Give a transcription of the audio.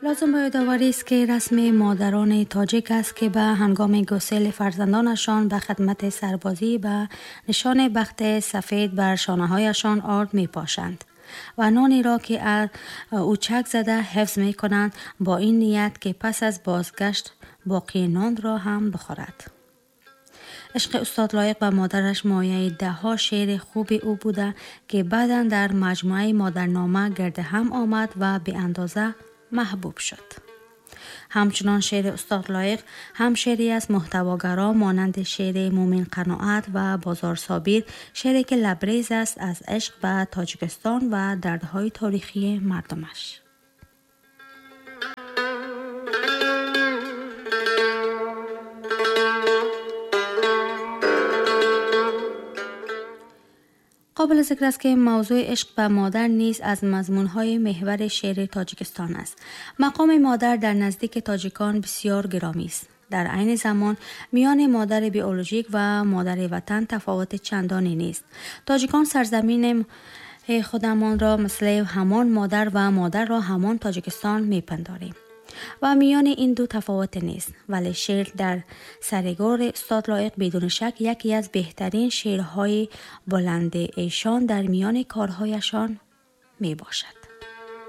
لازم به یادآوری است که رسم مادران تاجیک است که به هنگام گسیل فرزندانشان به خدمت سربازی به نشان بخت سفید بر شانه‌هایشان آرد می‌پاشند و نانی را که از او چک زده حفظ می‌کنند با این نیت که پس از بازگشت باقی نان را هم بخورد. عشق استاد لایق به مادرش مایه ده ها شعر خوب او بوده که بعداً در مجموعه مادرنامه گرد هم آمد و به اندازه محبوب شد. همچنان شعر استاد لایق هم شعری از محتواگرا مانند شعر مومن قناعت و بازار صابر، شعری که لبریز است از عشق به تاجیکستان و دردهای تاریخی مردمش. قابل ذکر است که موضوع عشق به مادر نیز از مضمون‌های محور شعر تاجیکستان است. مقام مادر در نزدیک تاجیکان بسیار گرامی است. در عین زمان میان مادر بیولوژیک و مادر وطن تفاوت چندانی نیست. تاجیکان سرزمین خودمان را مثل همان مادر و مادر را همان تاجیکستان می‌پنداریم و میان این دو تفاوت نیست. ولی شعر در سرگور استاد لایق بدون شک یکی از بهترین شعرهای بلند ایشان در میان کارهایشان می باشد.